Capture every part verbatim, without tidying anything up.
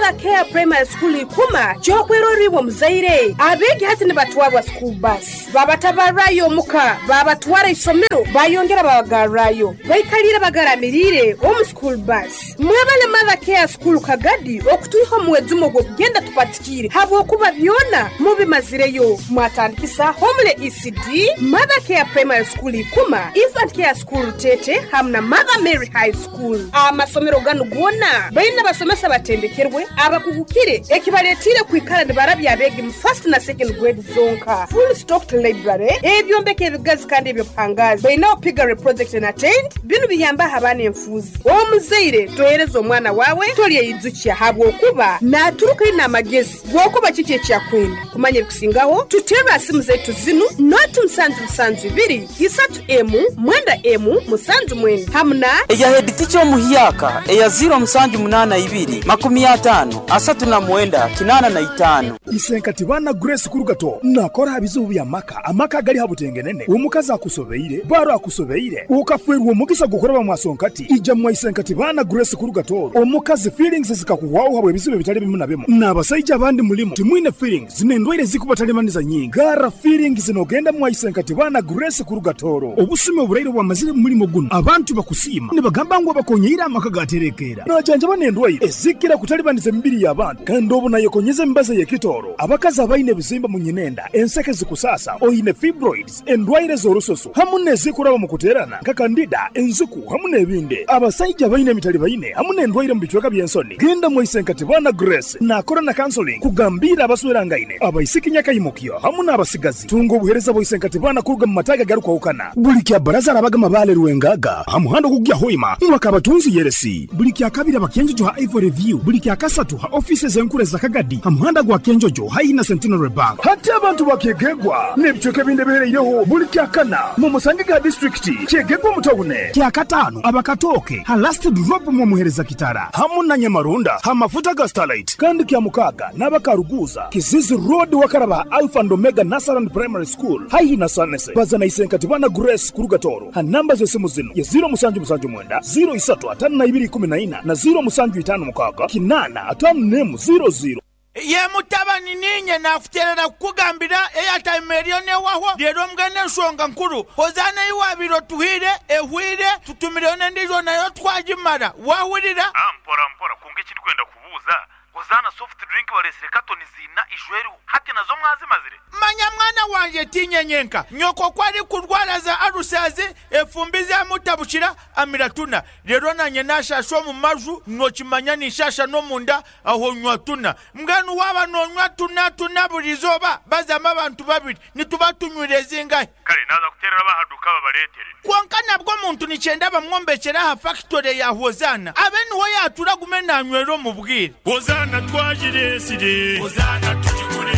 Mother Care Primary School ikuma kyokweroribwa muzaire abegi hati nibatwarwa school bus babatabarayo muka babatwara isomero bayongera babagarrayo baikalira bagaramirire omu school bus. Mwebale Mother Care School Kagadi okutuiho muwezumo gwokugenda tupatikire habwokuba byona mubimazireyo. Mwatandikisa Homele E C D, Mother Care Primary School ikuma, Infant Care School Tete hamna Mother Mary High School. Amasomero ganu gona baina basomesa batendekerwe abakugukire ekibaletire kwikara nibarabya abegi mu first na second grade zonka. Full stocked library ebyombeko ebigazi kandi ebyobuhangazi baina opigare project and attend binu biyamba abana enfuzi. Omuzaire tohereza omwana wawe tolye habwokuba naturuka ina amagezi gwokuba kiki ekyakwenda kumanya ebikusingaho tutera simu zetu zinu noti musanju musanju ibiri isatu emu mwenda emu musanju mwenda hamna eya head teacher omuhiyaka eya zero musanju munana ibiri makumi atano asatu na mwenda kinana na itano. Isenkati bana Grace Kurugato nakora bizubu bya maka amaka gali habutengenene omukazi akusobeire baro akusobeire ukafwerwa omugisa gukora mwasonkati ija mwa Isenkati bana Grace Kurugato omukazi feelings zikakuwawo habwe bizibu bitali bimu na bimu n'abasajja abandi mulimu timwine feelings zinendwaire zikubatalemaniza nyingi gara feelings zinogenda mwa Isenkati bana Grace Kurugatoro obusume oburaire bwamazire mulimo guno abantu bakusima nibagamba ngo bakonyeira amaka gaterekera najanja banendwaire ezikira kutalibaniza emibiri y'abantu kandi obu nayekonyeza embaza yekitoro abakazi abaine bizimba mu nyinenda enseke zikusasa oyine fibroids endwaire z'orusoso hamu nezikuraba mu kuterana kakandida enzuku hamu n'ebindi abasajja baine emitali baine hamu n'endwaire mu bicweka by'ensoni genda mu Isenkati bana Grace nakora na counseling kugambira abaswerangaine abaisiki nyakayimukyo hamu n'abasigazi tunga obuhereza bwa Isenkati bana kuruga mu mataga garukwahukana buli kya baraza arabaga mabale ruwengaga hamuhando kugya hoima mwakabatunzi yeresi buli kya kabiri abakenjojo ha Ivory View buli kya kasatu ha offices enkure za Kagadi hamuhanda gwa Kenjojo haina Centenary Bank hati abantu bakegegwa n'ebicweka binde bihereireho buli kya kana mu musange ga district kyegegwa mutawune kya katano abakatoke ha last drop mu muhereza kitara hamu na Nyamarunda hamafuta ga Starlight kandi kya mukaga n'abakaruguza Kizizi Road wakaraba Alpha and Omega Nasaran Primary School haihi na Sanese bazana Isenkati bana Grace Kurugatoro ha namba z'esimu zino ya zero musanju musanju mwenda zero isatu atano na ibiri kumi na ina na zero musanju itano mukaga kinana atano nemu zero zero. Ye mutabani ninye nakuterera kukugambira airtime eriyo newaho rero mbwene ensonga nkuru hozana iwabiro tuhire ehwire tutumireyo n'endijo nayo twagimara wahurira. Ah, mpora mpora kunga ekindi kwenda kubuuza hozana soft drink balesire katoni zina ijweru hati nazo mwazimazire. Manya mwana wanje tinyenyenka nyoko kwari kurwara za arusazi efumbi za mutabushira amiratuna rero nanye nashasho mu maju nokimanya nishasha no munda aho nywa tuna mbwenu waba nonywa tuna tuna burizoba bazama abantu babiri nituba tunywire zingahe. Kale naza kuterera bahaduka babaletere konka nabwo muntu nicyenda bamwombekera ha factory ya Hozana abe niho yatura gume nanywero mu bwire. Hozana twajiresire Hozana tujigure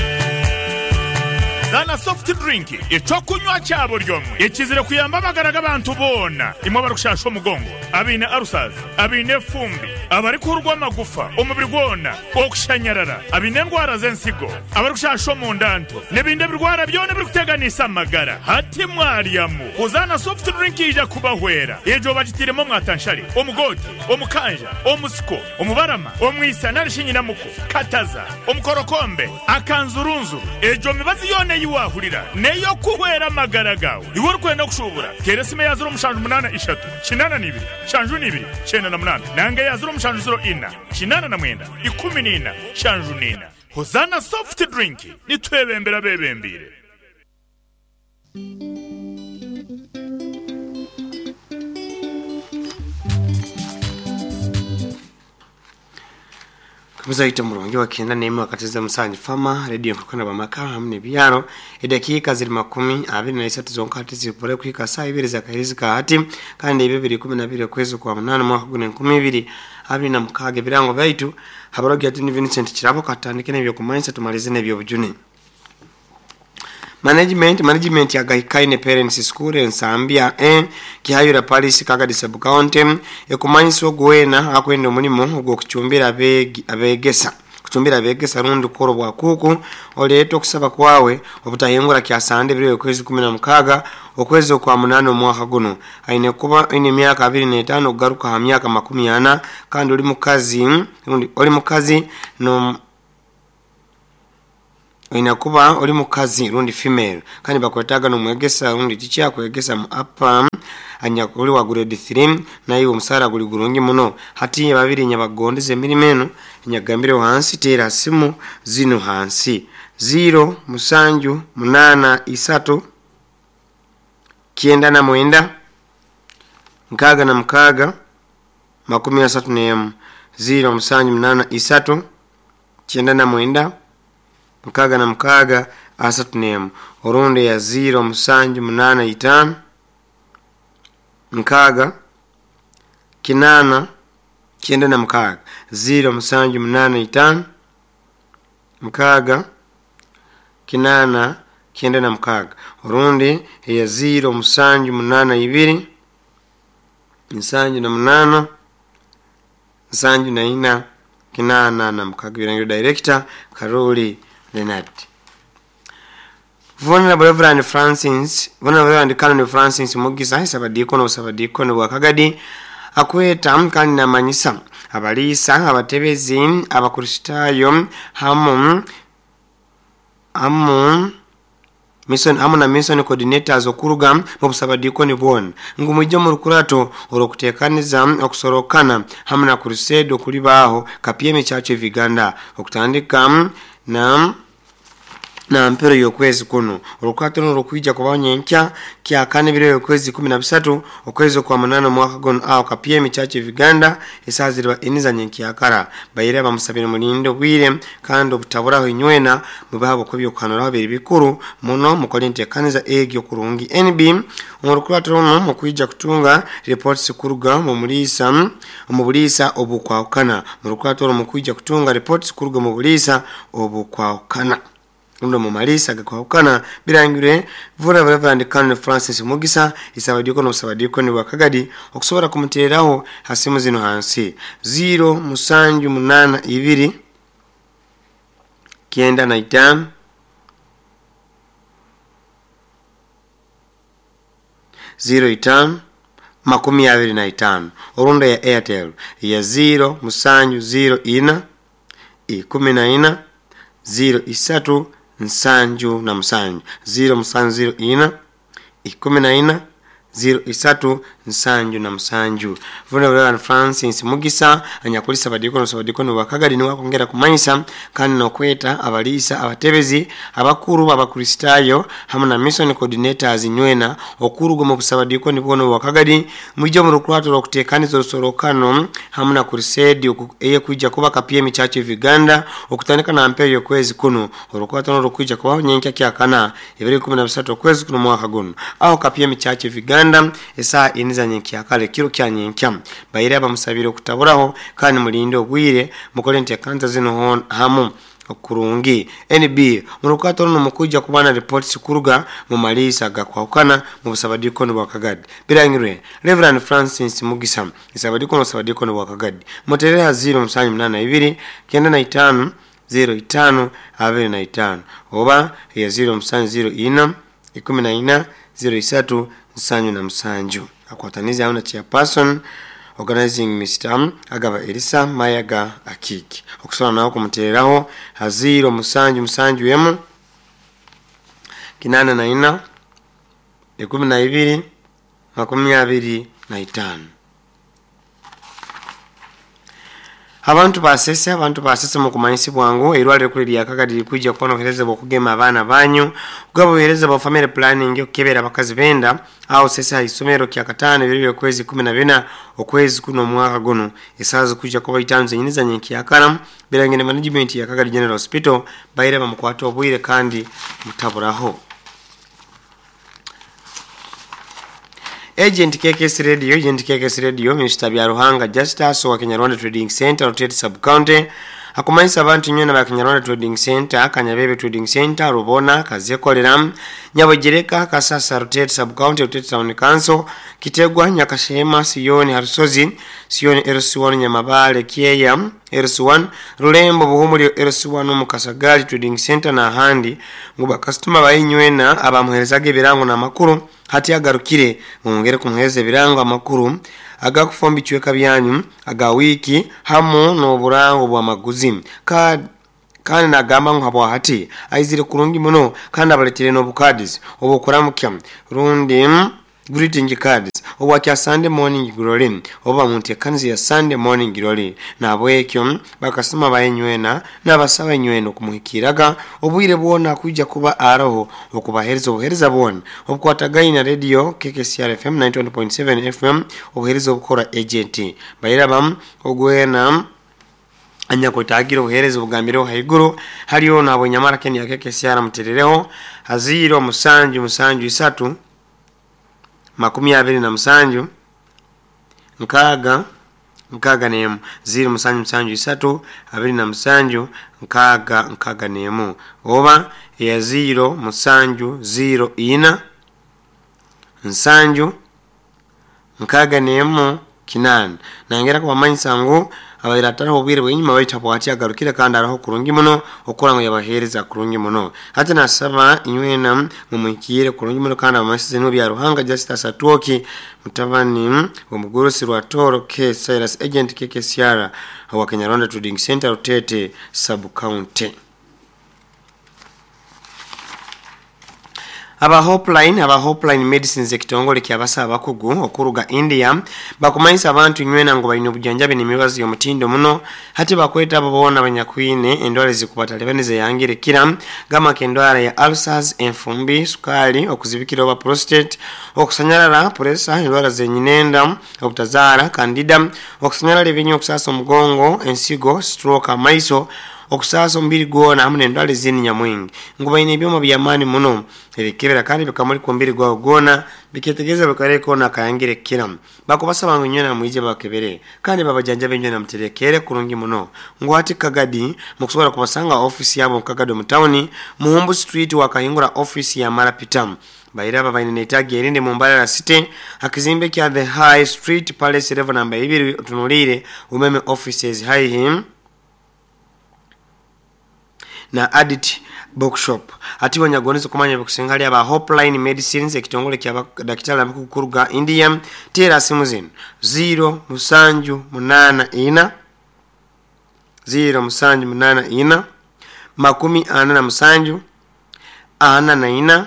Zana soft drink ecokunywa cyabo ryomwe ekizire kuyamba amagara abantu bona imwe barukushasha omugongo abine arusaza abine fumbi abari kurwa amagufa omubiri gwona okushanyarara abine ndwara z'ensigo abari kushasha omundanto n'ebindi birwara byona birikuteganisa amagara hati mwaryamu Hozana soft drink ija kubahwera ejo bagitiremo mwatanshari omugoti omukanja omusiko omubarama omwisa narishinyinamuko kataza omukorokombe akanzurunzuru ejo mibazi yone yiwahurira neyo kuhwera amagara gawe iwe urikwenda kushubura teresime ya zero mushanju munana ishatu kinana nibiri shanju nibiri chenda na munana nange ya zero mushanju zero ina kinana na mwenda ikumi nina shanju nina. Hozana soft drink nitwebembera bebembire. Kuzaita murungi wa kenda nemi wakatiza musanji fama radio mkukana bamaka hamne biyaro edakika ziri makumi abiri na isatu zonkati zipole kuhika saa ibiri za kahirizi kahati kandi ibibiri kumi na biri kwezi kwa munane mwaka gune nkumi ibiri abiri na mukage birango baitu habarogi atini Vincent Chirabo katandike n'ebyo kumanyisa tumalize n'ebyo bujune. Management management ya Gahikaine Parents School Ensambia eh Kihayura Paris Kagadi Sub County ekumanyisa ogwena akwenda omulimo ogw'okucumbira abegesa Kuchumbira abegesa rundi kukora obwakuku oleeta okusaba kwawe obutahingura kyasande ebiro okwezi kumi na mukaaga okwezi okwa munaana omwaka guno. Aine kuba aine emyaka abiri n'etaano okugaruka ha myaka makumi ana kandi oli mukazi rundi oli mukazi no oina kuba oli mukazi rundi female kandi bakwetaaga n'omwegesa rundi tikyakwegesa mu apa anyakuli wa grade three naye omusaara guli gurungi muno. Hati babiri nyabagondeza emirimu eno nyagambire hansi teera simu zino hansi zero musanju munana isatu kyenda na mwenda nkaaga na mukaaga makumi asatu n'emu zero musanju munana isatu kyenda na mwenda mukaaga na mukaaga asatu n'emu orundi ya zero musanju munana itaano nkaaga kinaana kyenda na mukaaga zero musanju munana itaano mukaaga kinaana kyenda na mukaaga orundi ya zero musanju munana ibiri nsanju na munana nsanju na ina kinaana na mukaaga. Birangiro director Karoli Leonard. Vulnerable Reverend Francis, Vulnerable Reverend Canon Francis Mugisa, Sabadikono Sabadikono wa Kagadi, akweta kandi namanyisa abaliisa abatebezi abakristaayo hamu hamu mission hamu na mission coordinators okuruga mu busabadikoni bwona ngu mwijje mu rukurato olw'okuteekaniza okusorokana hamu na crusade okulibaaho Kapyemi Church of Uganda okutandika na na mpero y'okwezi kuno. Olukwato luno lukwijja kubaho nyenkya kyakane ebiro y'okwezi kumi na bisatu okwezi okwa munaana omwaka guno aho Kapyemi Church of Uganda esaaha ziriba eniza nyenkyakara. Baire bamusabire mulinde obwire kandi obutaburaho inywena mubaha okw'ebyokuhanuraho biri bikuru muno mukole enteekaniza egyo kurungi. N B omu rukurato runo mukwijja kutunga reports kuruga mu muliisa omu buliisa obukwahukana. Mu rukurato runo mukwijja kutunga reports kuruga mu buliisa obukwahukana undo mumalisa gakwahukana. Birangire Vura Reverend Canon Francis Mugisa isabadiko no sabadiko ni wakagadi okusobola kumutereraho hasimu zino hansi zero musanju munana ibiri kyenda na itaano zero itaano makumi abiri na itaano orundo ya Airtel ya zero musanju zero ina ikumi na ina zero isatu nsanju na musanju zero musanju zero ina ikumi na ina zero isatu nsanju na musanju. Vulnerable Francis Mugisa anyakulisa badikono sabadikono wakagadi niwe akongera kumanyisa kandi nokweta abaliisa abatebezi abakuru abakristaayo hamu na mission coordinators nywena okuruga mu busabadikoni bwono wakagadi mwijje mu rukurato lw'okuteekaniza orusorokano hamu na crusade eyekwijja kuba Kapyemi Church of Uganda okutandika na mpero y'okwezi kuno. Orukurato luno lukwijja kubaho nyenkya kyakana ebiro ikumi na bisatu okwezi kuno mwaka guno aho Kapyemi Church of Uganda esaa iniza nyenkyakale kiro kya nyenkya. Baire abamusabire okutaburaho kandi mulinde obwire mukole enteekaniza zino hamu okurungi. N B mu rukurato runo mukwijja kubana reports kuruga mu maliisa gakwahukana mu busabadikoni bwa Kagadi. Birangirwe Reverend Francis Mugisa isabadikono sabadikono bwa Kagadi muterera zero musanju munana ibiri kyenda na itaano zero itaano abiri na itaano oba ya zero musanju zero ina ikumi na ina zero isatu nsanju na musanju. Akwataniza hamu na chairperson organizing Mister Agaba Elisa Mayaga Akiki okusobola nawo kumutereraho ha zero musanju musanju emu kinana na ina ikumi na ibiri makumi abiri na itaano. Abantu basese abantu basese mu kumanyisi bwangu erwaliro kuli lya Kagadi likwijja kubona obuheereza bw'okugema abaana banyu kugaba obuheereza bwa family planning okukebera abakazi benda aho sese ha isomero kya kataano ebiro by'okwezi kumi na bina okwezi kuno omwaka guno esaaha zikwijja kuba itaano zenyini za nyenkyakara. Birangire management ya Kagadi General Hospital baire bamukwata obwire kandi mutaburaho. Agent K K S Radio, Agent K K S Radio, Mister Byaruhanga Justus wa Kenya Rwanda Trading Center, Rotate Sub County, Akumanyisa abantu nywena ba Kinyarwanda Trading Center, Kanyabebe Trading Center, Rubona, Kazekolera, Nyabogereka, Kasasa, Rutete Sub County, Rutete Town Council, Kitegwa, Nyakashema, Siyoni, Harusozi, Siyoni L C one, Nyamabale, Kieya L C one, Rulembo, Buhumuli L C one, Mukasagali Trading Center na ahandi ngu bakasitoma bainywena abamuherezaga ebirango n'amakuru hati agarukire mwongere kumuhereza ebirango amakuru agakufomba icweka byanyu aga wiki hamu n'oburango bw'amaguzi. Ka kandi nagamba ngu habwa hati aizire kurungi muno kandi abaletere n'obukadis obukuramukya rundi greeting cards obwakya Sunday morning glory oba muntekanzi ya Sunday morning glory. Nabwekyo bakasoma bayenywena nabasaba enywena okumuhikiraga obwire bwona kuja kuba aroho okubahereza obuhereza bwona obukwatagaina radio K K C R F M ninety-one point seven F M obuhereza obukora agent bayiraba ogwena anyakwetagira obuhereza obugambireho haiguru haliyo nabo nyamara Kenya K K C R muterereho haziro musanju musanju isatu makumi abiri na musanju nkaga nkaga nemu ziro musanju musanju isatu abiri na musanju nkaga nkaga nemu oba ya ziro musanju ziro ina nsanju nkaga nemu kinana. Nangera kubamanyisa ngu abaira atariho obwire bw'enyuma baita bwati agarukire kandi araho kurungi muno okora ngo yabahereza kurungi muno. Hati nasaba inywena mumwikire kurungi muno kandi abamasize no bya Ruhanga Justice Atuoki mutabani omugurusi rwa Toro K Cyrus agent K K C R wa Kinyarwanda Trading Center Rutete Sub County. Aba Hopeline, aba Hopeline Medicines ekitongole kyabasa abakugu okuruga India bakumanyisa abantu nywena ngo balina obujanjabi n'emibazi y'omutindo muno hati bakweta abo boona abanyakwine endwara ezikubatalibaniza yangire kira gama kendwara ya ulcers, enfumbi, sukali, okuzibikira oba prostate, okusanyalala, pressure, endwara zenyinenda, obutazaara, candida, okusanyalala ebinyo, okusasa omugongo, ensigo, stroke, amaiso, okusasa omubiri gwona hamu n'endwara ezindi nyamwingi. Ngu balina ebyoma by'amaani muno ebikebera kandi bikamulika omubiri gwawe gwona biketegereza bikareka nakayangire kira. Bakubasaba ngu nywena mwije bakebere kandi babajanjabe nywena muterekere kurungi muno. Ngu hati Kagadi mukusobola kubasanga ofisi yabo Kagadi mu town Muhumbu Street wakahingura ofisi ya Marapita. Bairaba baine netagi erinde mu Mbarara City akizimbe kya The High Street Palace level number ibiri tunulire umeme offices high him na Adit Bookshop. Ati wanyagoneza kumanya bikusengali aba Hopeline Medicines ekitongole kya daktari abakukuruga India. Tera simu zino zero musanju munana ina zero musanju munana ina makumi ana na musanju ana na ina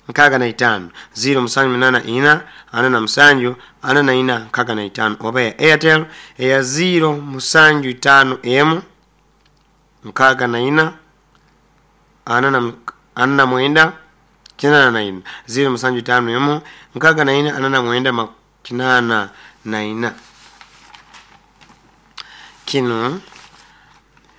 nkaga na itano zero musanju munana ina ana na musanju ana na ina nkaga na itano oba ya Airtel ya zero musanju itano emu nkaga na ina ana na ana na mwenda kinana na ina zero musanju tano emu nkaga na ina ana na mwenda kinana na ina. Kino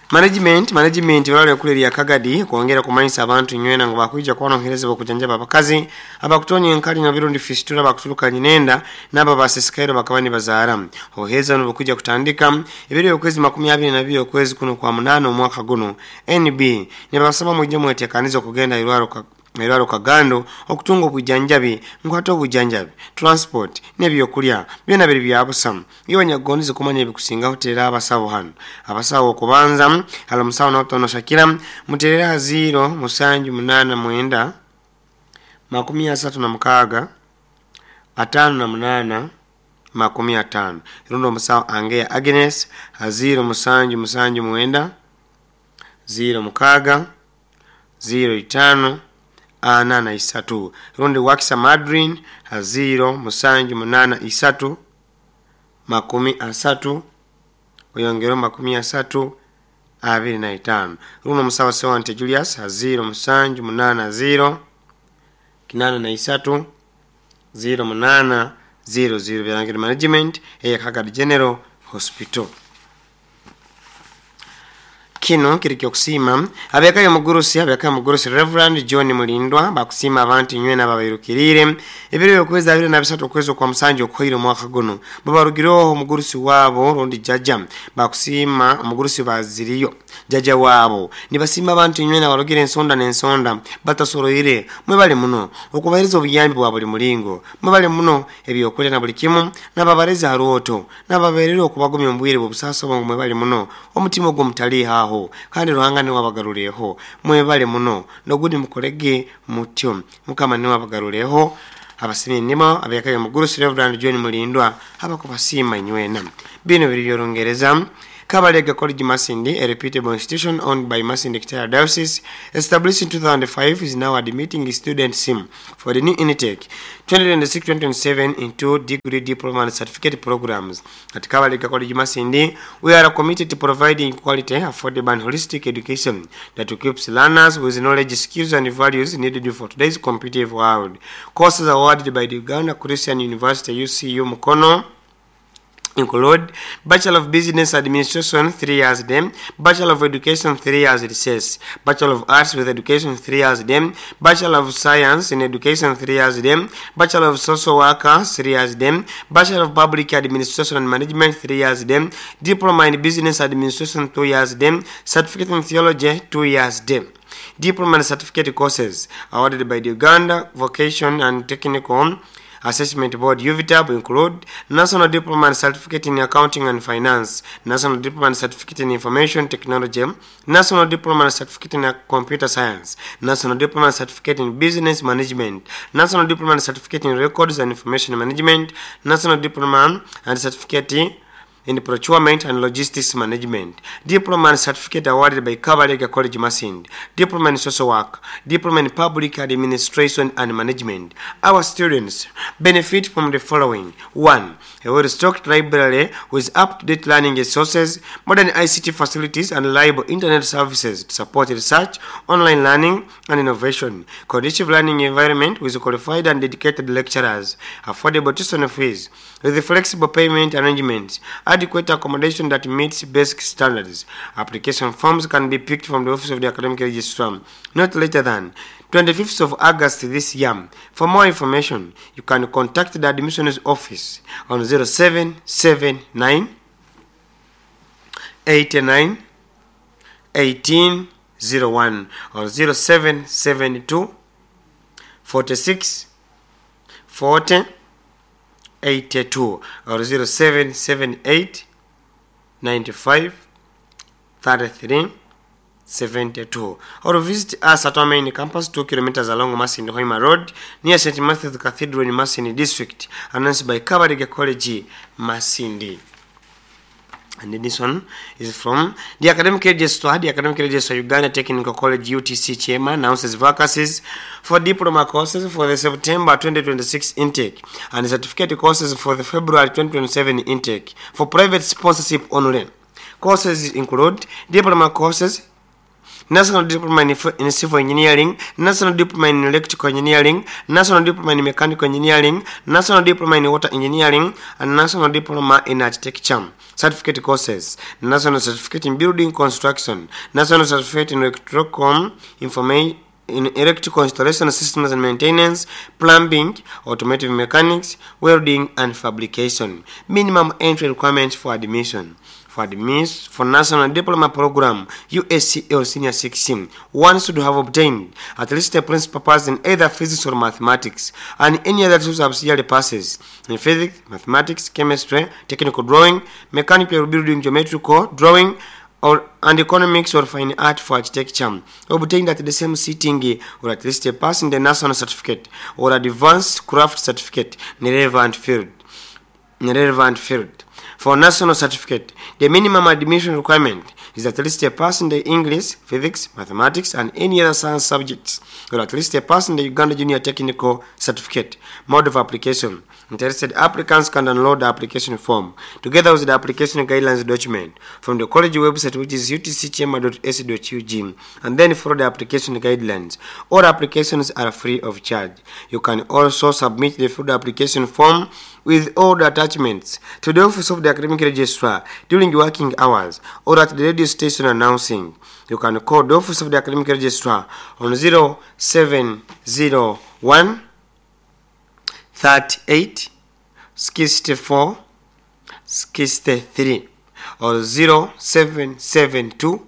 management management wale okuleria Kagadi kwongera kumanyisa abantu nywena ngo bakuija kwanohereza bokujanjaba abakazi abakutonya enkali na birundi fistula bakutuluka nyinenda naba basesikairo bakabani bazaara obuheza no kutandika ebiri okwezi makumi abiri na bibiri okwezi kuno kwa munano omwaka guno. N B nibasaba mujje mwetekanizo kugenda irwaro ka Irwaro Kagando okutunga obujanjabi nkwata obujanjabi transport n'ebyokulya byona biri bya busa. Iyo nyagonze kumanya ebikusinga hotera abasawo hano abasawo okubanza halo musawo n'otono Shakira muterera zero musanju munana mwenda makumi asatu na mukaaga atano na munana makumi atano. Irundo musawo Angea Agnes zero musanju musanju mwenda zero mukaaga zero itano ana na isatu. Rundi Wakisa Madrin zero musanju munana isatu makumi asatu oyongero makumi asatu abiri na itano. Runo musawa Sewante Julius zero musanju munana zero kinana na isatu zero munana zero zero. Byarangire management eya Kagadi General Hospital. Kino kiri kyokusima abekayo mugurusi abekayo mugurusi Reverend John Mulindwa bakusima abantu inywe n'ababairukirire ebiro byokwezi abiri na bisatu okwezi kwa musanju okuhire omwaka guno babarugireho omugurusi wabo rundi jaja bakusima omugurusi baziriyo jaja wabo nibasima abantu inywe n'abarugire ensonda n'ensonda batasoroire mwebale muno okubahereza obuyambi bwa buli mulingo mwebale muno ebyokulya na buli kimu n'ababareza haroto n'ababerera okubagumya omubwire bw'obusaasi bwangu mwebale muno omutima ogwo mutali haho kandi Ruhanga niwe abagaruleho mwebale muno nogundi mukolege mutyo Mukama niwe abagaruleho abasimye nimo abekayo mugurusi Reverend John Mulindwa abakubasima inywena. Bino biri by'Olungereza. Kabalega College Masindi, a reputable institution owned by Masindi Kitara Diocese, established in two thousand five, is now admitting students for the new intake twenty twenty-six twenty twenty-seven into degree, diploma and certificate programs. At Kabalega College Masindi, we are committed to providing quality, affordable and holistic education that equips learners with knowledge, skills and values needed for today's competitive world. Courses awarded by the Uganda Christian University U C U Mukono include Bachelor of Business Administration three years dem, Bachelor of Education three years recess, Bachelor of Arts with Education three years dem, Bachelor of Science in Education three years dem, Bachelor of Social Worker three years dem, Bachelor of Public Administration and Management three years dem, Diploma in Business Administration two years dem, Certificate in Theology two years dem. Diploma and Certificate courses awarded by the Uganda Vocation and Technical Assessment Board U V T A B include National Diploma and Certificate in Accounting and Finance, National Diploma and Certificate in Information Technology, National Diploma and Certificate in Computer Science, National Diploma and Certificate in Business Management, National Diploma and Certificate in Records and Information Management, National Diploma and Certificate in Procurement and Logistics Management, Diploma and Certificate awarded by Kabalega College Masindi, Diploma in Social Work, Diploma in Public Administration and Management. Our students benefit from the following. one. A well-stocked library with up-to-date learning resources, modern I C T facilities and reliable internet services to support research, online learning and innovation, conducive learning environment with qualified and dedicated lecturers, affordable tuition fees, with flexible payment arrangements, adequate accommodation that meets basic standards. Application forms can be picked from the Office of the Academic Registrar not later than twenty-fifth of August this year. For more information, you can contact the admissions office on zero seven seven nine eight nine eighteen zero one or zero seven seven two forty-six forty eighty-two or zero seven seven eight ninety-five thirty-three seventy-two, or visit us at our main campus two kilometers along Masindi Hoima Road near Saint Matthew's Cathedral in Masindi District. Announced by Kabalega College Masindi. And this one is from the Academic Registrar. The Academic Registrar Uganda Technical College U T C Chairman announces vacancies for diploma courses for the September twenty twenty-six intake and certificate courses for the February twenty twenty-seven intake for private sponsorship only. Courses include diploma courses, National Diploma in, in Civil Engineering, National Diploma in Electrical Engineering, National Diploma in Mechanical Engineering, National Diploma in Water Engineering, and National Diploma in Architecture. Certificate courses, National Certificate in Building Construction, National Certificate in Electrocom Information, in Electrical Installation Systems and Maintenance, Plumbing, Automotive Mechanics, Welding and Fabrication. Minimum entry requirements for admission. For admissions for National Diploma Program U S C L Senior six, one should have obtained at least a principal pass in either physics or mathematics and any other two subsidiary passes in physics, mathematics, chemistry, technical drawing, mechanical building, geometrical drawing, or and economics or fine art for architecture, obtained at the same sitting, or at least a pass in the national certificate or advanced craft certificate in the relevant field. In the relevant field. For national certificate, the minimum admission requirement is at least a pass in the English, physics, mathematics, and any other science subjects, or at least a pass in the Uganda Junior Technical Certificate. Mode of application. Interested applicants can download the application form together with the application guidelines document from the college website, which is u t c kyema dot a c dot u g, and then follow the application guidelines. All applications are free of charge. You can also submit the full application form with all the attachments to the office of the academic registrar during working hours or at the radio station announcing. You can call the office of the academic registrar on zero seven zero one thirty-eight sixty-four sixty-three or zero seven seven two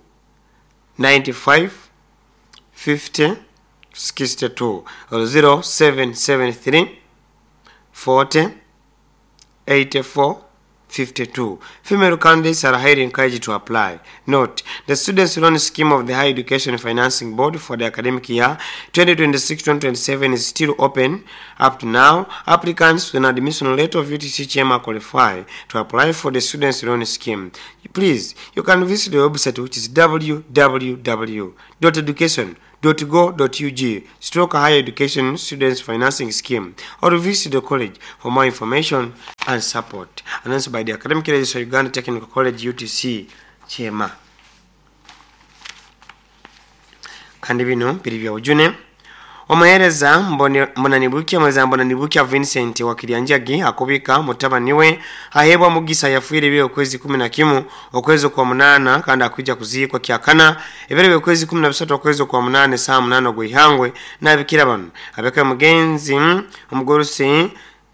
ninety-five fifty sixty-two or zero seven seven three forty eighty-four fifty-two. Female candidates are highly encouraged to apply. Note, the Students' Loan Scheme of the Higher Education Financing Board for the academic year twenty twenty-six twenty twenty-seven is still open. Up to now, applicants with an admission letter of U T C Kyema qualify to apply for the Students' Loan Scheme. Please, you can visit the website, which is w w w dot education dot go dot u g stroke higher education students financing scheme, or visit the college for more information and support. Announced by the Academic Registrar, Uganda Technical College, U T C Kyema. Kandi bino biri bya ujune. Omuheereza Mbonanibukia, omuheereza Mbonanibukia Vincent wa Kiryanjagi akubika mutabani we aheebwa mugisa yafiire ebiro okwezi kumi na kimu okwezi kwa munana kandi akwijja kuziikwa kyakana ebiro by'okwezi kumi na bisatu okwezi kwa munane saa munana ogw'ihangwe n'abikira bano abeka mugenzi omugurusi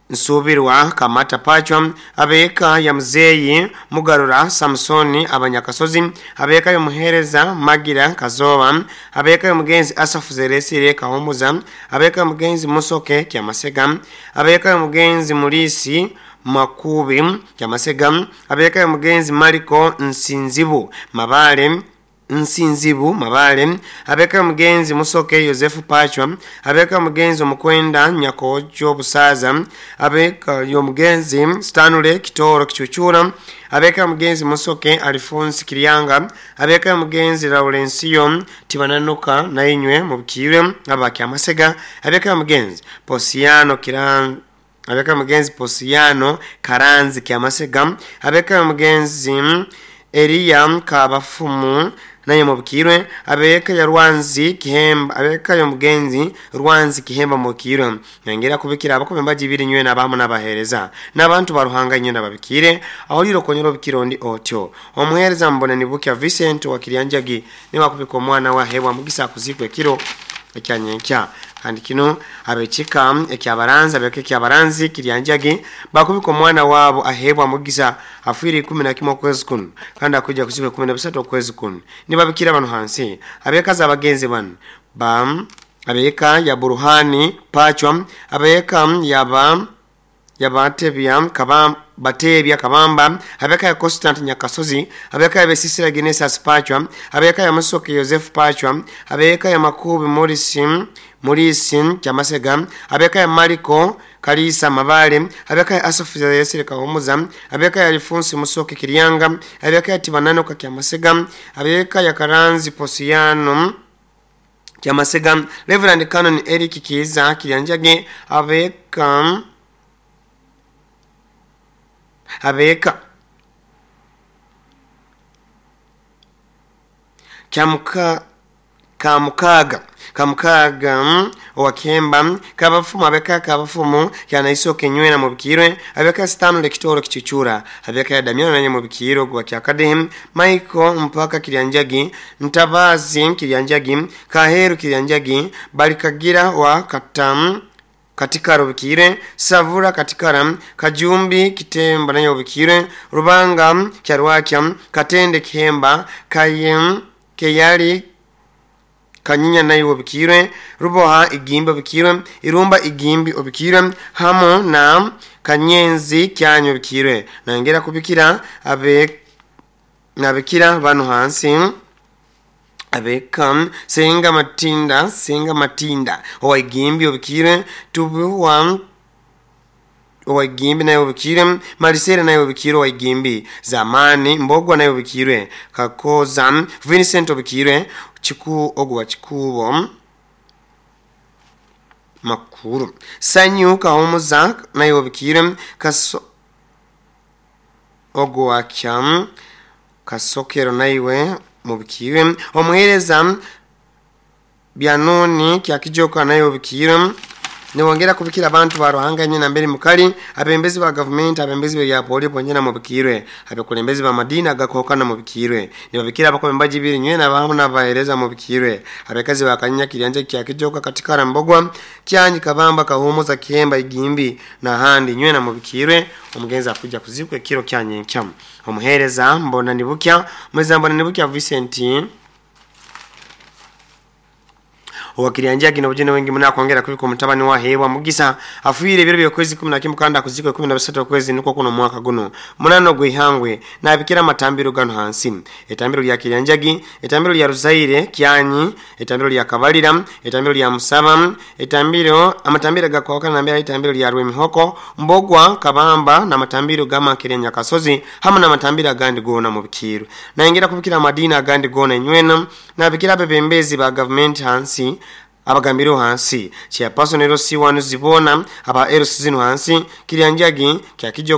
Nsubirwa Kamata Pachwa, abeka ya mzeyi Mugarura Samsoni abanyakasozi, abeka ya muhereza Magira Kazoba, abeka ya mugenzi Asafu Zeresire Kahumuza, abeka ya mugenzi Musoke Kyamasega, abeka ya mugenzi Mulisi Makubi Kyamasega, abeka ya mugenzi Mariko Nsinzibu Mabale Nsinzibu Mabale, abeka mugenzi Musoke Yosefu Pachwa, abeka mugenzi Omukwenda Nyakojo Busaza, abeka yomugenzi Stanley Kitoro Kichuchura, abeka mugenzi Musoke Alphonse Kiryanga, abeka mugenzi Laurencio Tibananuka nainywe mubikire abakyamasega, abeka mugenzi Posiano Kiran, abeka mugenzi Posiano Karanzi Kyamasega, abeka mugenzi Elia Kabafumu naye mubikirwe, abeka ya Rwanzi Kihemba, abeka ya mugenzi Rwanzi Kihemba mubikirwe. Nyongera kubikira abakombe mbajibiri nywe nabamu nabahereza n'abantu baruhanga nywe nababikire aho liro konyero bikirondi otyo. Omuhereza Mbonanibukia Vincent wa Kiryanjagi ni wakubika omwana wa hebwa mugisa kuzikwe kiro ekyanyenkya. Kandi kino abechika ekyabaranza abeke ekyabaranzi Kiryanjagi bakubika omwana wabo ahebwa mugisa afwire ikumi na kimwe okwezi kuno kandi akujja kuziba ikumi na bisatu okwezi kuno. Nibabikira bano hansi abekaza abagenzi bano bam abeka ya Buruhani Pachwa, abeka yaba yabatebya kabam batebya kabamba, abeka ya Constant Nyakasozi, abeka ya Besisira Genesis Pachwa, abeka ya Musoke Joseph Pachwa, abeka ya Makubi Morrison Morrison Kyamasega, abeka ya Mariko Kalisa Mabale, abeka ya Asafu Yesire Kahumuza, abeka ya Alphonse Musoke Kiryanga, abeka ya Tibanano Kyamasega, abeka ya Karanzi Posiano Kyamasega, Reverend Canon Eric Kiza Kiryanjage, abeka abeka kyamuka kamukaga kamukaga owakemba kabafumu, abeka kabafumu kyanaisoke nywena mubikirwe, abeka Stanley Kitoro Kichuchura, abeka ya Damiano nanye mubikiro gwa kyakadehem Michael mpaka Kiryanjagi, Ntabazi Kiryanjagi, Kaheru Kiryanjagi, Balikagira wa Katam katika rubikire, Savura katikara, Kajumbi Kitemba nayo bikire, Rubanga Kyarwakya, Katende Kihemba, Kayem Keyali Kanyinya nayo bikire, Ruboha Igimbi bikire, Irumba Igimbi obikire, hamo na Kanyenzi Kyanyo bikire. Nangera kubikira abe nabikira bano hansi abeka Senga Matinda, Senga Matinda owa Igimbi obikire, Tubuwa owa Igimbi nayo obikire, Marisera nayo obikire owa Igimbi, Zamani Mbogwa nayo obikire, Kakoza Vincent obikire, Chiku ogwa Chikubo Makuru Sanyu Kahumuza naye obikire Kaso Ogwakya Kasokero naiwe mubikire omuhereza Byanoni Kyakijoka naye obikire. Niwongera kubikira abantu ba Ruhanga nyina mbere mukali abembezi ba government, abembezi ba poli ponyena mubikirwe, abekulembezi ba madina gakokana mubikirwe, nibabikira abakombaji biri nywena bahamu nabahereza mubikirwe, abekazi bakanya Kiryanja Kyakijoka katika Rambogwa Kyanyi Kabamba Kahumuza Kiemba Igimbi na handi nywena mubikirwe. Omugenzi akuja kuzikwe kiro kyanyenkya. Omuhereza Mbona Nibukya mweza Mbona Nibukya Vincent Owakirianja gino bujene wengi muna kuongera kubiko mutabani wa hewa mugisa afuire ibiro byo kwezi kumi na kimwe kandi akuzikwe kumi na bisatu kwezi nuko kuno mwaka guno munano gwihangwe nabikira matambiro gano hansi etambiro lya Kirianjagi, etambiro lya Ruzaire Kyanyi, etambiro lya Kabalira, etambiro lya Musaba, etambiro amatambiro gakwakana nambira etambiro lya Rwemihoko Mbogwa Kabamba na matambiro gama Kirenya Kasozi hamwe na matambiro agandi gona mu bikiru. Naingira kubikira madina agandi gona nywena nabikira bebembezi ba government hansi abagambiro hansi chairperson L C one zibona aba L C zino hansi Kirianjagi Kyakijo.